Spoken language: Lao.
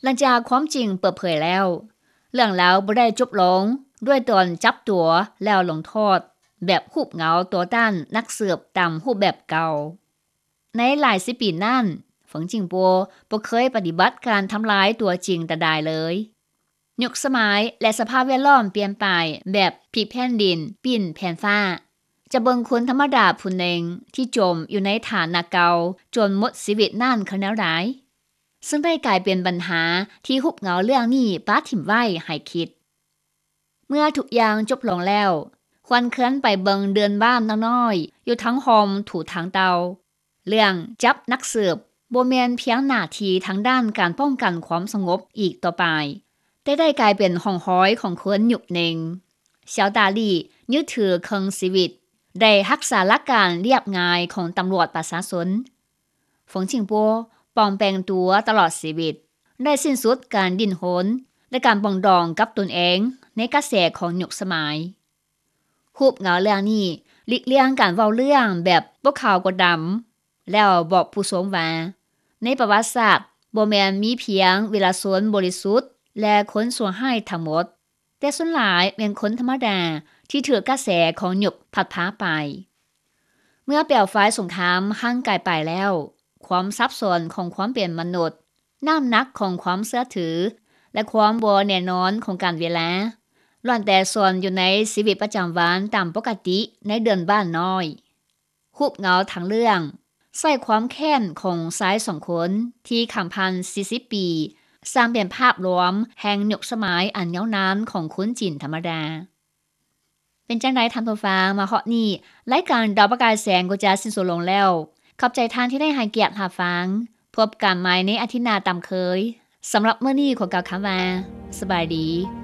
ຫຼັງຈາກຄວາມຈິງເປີດເຜີຍແລ້ວ ເລື່ອງລາວບໍ່ໄດ້ຈົບລົງດ້ວຍຕອນຈັບຕົວແລ້ວລົງໂທດ ແບບຮູບເງົາຕໍ່ຕ້ານນັກສືບຕາມຮູບແບບເກົ່າ. ໃນຫຼາຍສິບປີນັ້ນ ເຟິງຈິງປົວບໍ່ເຄີຍປະຕິບັດການທຳລາຍຕົວຈິງແຕ່ໃດເລີຍ. ຍຸກສະໄໝ ແລະ ສະພາບແວດລ້ອມປ່ຽນໄປແບບພິກແຜ່ນດິນ ປິ່ນແຜ່ນຟ້າ ຈະເບິ່ງຄົນທຳມະດາຜູ້ໜຶ່ງທີ່ຈົມຢູ່ໃນຖານະເກົ່າຈົນໝົດຊີວິດນັ້ນຄືແນວໃດ? ເຊິ່ງໄດ້ກາຍເປັນບັນຫາທີ່ຮູບເງົາເລື່ອງນີ້ປະຖິ້ມໄວ້ໃຫ້ຄິດ. ເມື່ອທຸກຢ່າງຈົບລົງແລ້ວ ຄວນເຄື່ອນໄປເບິ່ງເຮືອນບ້ານນ້ອຍໆ ຢູ່ທາງຮ່ອມຖູທາງເຕົາ. ເລື່ອງຈັບນັກສືບບໍ່ແມ່ນພຽງໜ້າທີ່ທາງດ້ານການປ້ອງກັນຄວາມສະຫງົບອີກຕໍ່ໄປ, ແຕ່ໄດ້ກາຍເປັນຮ່ອງຮອຍຂອງຄົນຍຸກໜຶ່ງ. ຊາວຕາລີຍຶດຖືເຄິ່ງຊີວິດ ໄດ້ຮັກສາຫຼັກການລຽບງ່າຍຂອງຕຳຫຼວດປະຊາຊົນ. ເຟິງຈິງປົວປອມແປງຕົວຕະຫຼອດຊີວິດ, ໄດ້ສິ້ນສຸດການດີ້ນຮົນ ແລະ ການປອງດອງກັບຕົນເອງໃນກະແສຂອງຍຸກສະໄໝ. ຮູບເງົາເລື່ອງນີ້ຫຼີກລ່ຽງການເວົ້າເລື່ອງແບບບໍ່ຂາວກໍດຳ ແລ້ວບອກຜູ້ຊົມວ່າ ໃນປະຫວັດສາດບໍ່ແມ່ນມີພຽງວິລະຊົນບໍລິສຸດ ແລະ ຄົນຊົ່ວຮ້າຍທັງໝົດ, ແຕ່ສ່ວນຫຼາຍແມ່ນຄົນທຳມະດາທີ່ຖືກກະແສຂອງຍຸກພັດພາໄປ. ເມື່ອເປວໄຟສົງຄາມຫ່າງໄກໄປແລ້ວ, ຄວາມສັບສົນຂອງຄວາມເປັນມະນຸດ, ນ້ຳໜັກຂອງຄວາມເຊື່ອຖື ແລະ ຄວາມບໍ່ແນ່ນອນຂອງການເວລາ ລ້ວນແຕ່ສ້ອນຢູ່ໃນຊີວິດປະຈຳວັນຕາມປົກກະຕິໃນເຮືອນບ້ານນ້ອຍ. ຮູບເງົາທາງເລື່ອງ ໃຊ້ຄວາມແຄ້ນຂອງຊາຍສອງຄົນທີ່ຂ້າມຜ່ານສີ່ສິບປີ ສ້າງເປັນພາບລວມແຫ່ງຍຸກສະໄໝອັນຍາວນານຂອງຄົນຈີນທຳມະດາ. ເປັນຈັ່ງໃດທ່ານຜູ້ຟັງ, ມາຮອດນີ້ ລາຍການດາວປະກາຍແສງກໍຈະສິ້ນສຸດລົງແລ້ວ. ຂອບໃຈທ່ານທີ່ໄດ້ໃຫ້ກຽດຮັບຟັງ. ພົບກັນໃໝ່ໃນອາທິດໜ້າຕາມເຄີຍ. ສຳລັບມື້ນີ້ຂໍກ່າວຄຳວ່າ ສະບາຍດີ.